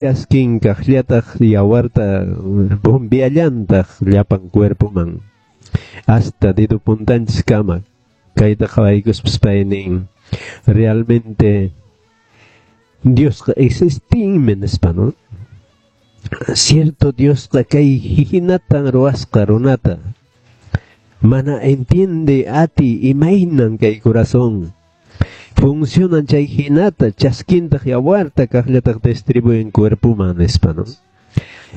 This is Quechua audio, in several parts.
Chaskin kaqllataq yawarta bombeallantaq llapan cuerpoman hasta dedo puntanchiskama. Kayta qhawaykuspas pay nin realmente Diosqa existinmi nispa, ¿no? Cierto, Diosqa kay hinatan ruwasqa runata. Mana entiende ati imaynan kay corazón funcionan chay hinata, chaskintaq yawarta kaqllataq distribuyen cuerpoman nispa, ¿no?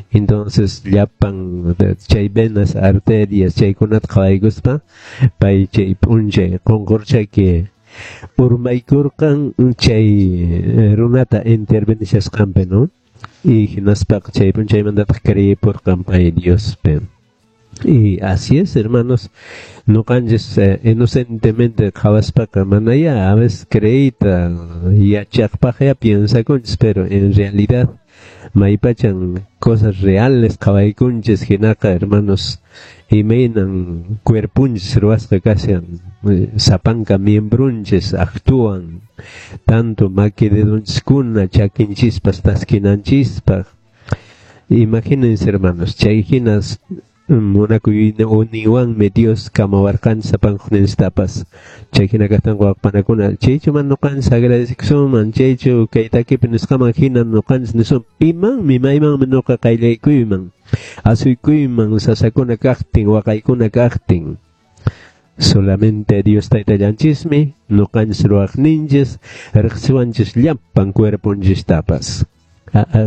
Entonces llapan chay venas, arterias chaykunata qhawaykuspa pay chay p'unchay qunqurchaki urmaykurqan chay runata intervenishasqanpi, ¿no? Y hinaspaqa chay p'unchaymantataq creepurqan pay Diospi. Y así es, hermanos, ñuqanchis inocentemente qhawaspaqa manaya a veces creeyta yachaqpaq ya piensakunchis, pero en realidad maypachan cosas reales qhawaykunchis hinaqa, hermanos, imaynan cuerpunchis ruwasqa kashan, sapanka miembrunchis actúan, tanto maki dedonchiskuna, chakinchispas taskinanchispaq. Imagínense, hermanos, chay hinas munakuyninwanmi Dios kamawarqanchis sapankuninchiktapas. Chay hina kaqtinqa, wawqipanakuna, chaychu man ñuqanchis agradecekusunman, chaychu kay takipi nisqaman hina ñuqanchis nisun pimanmi, maymanmi ñuqa qayllaykuyman, asuykuyman sasakuna kaqtin, waqaykuna kaqtin. Solamente Dios Taytallanchismi ñuqanchis ruwaqninchis, riqsiwanchis llapan cuerponchistapas.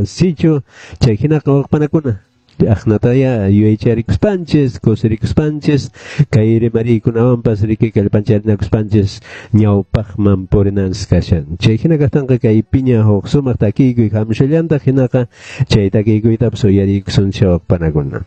Sichu chay hinaqa, wawqipanakuna, aqnataya yuyaycharikuspanchis, kusirikuspanchis, kay rimariykunawanpas riki kallpancharinakuspanchis ñawpaqman purinanchis kashan. Chay hina kaqtinqa kay piña huk sumaq takiykuy hamushallantaq, hinaqa chay takiykuytapas uyariykusunchik, wawqipanakuna.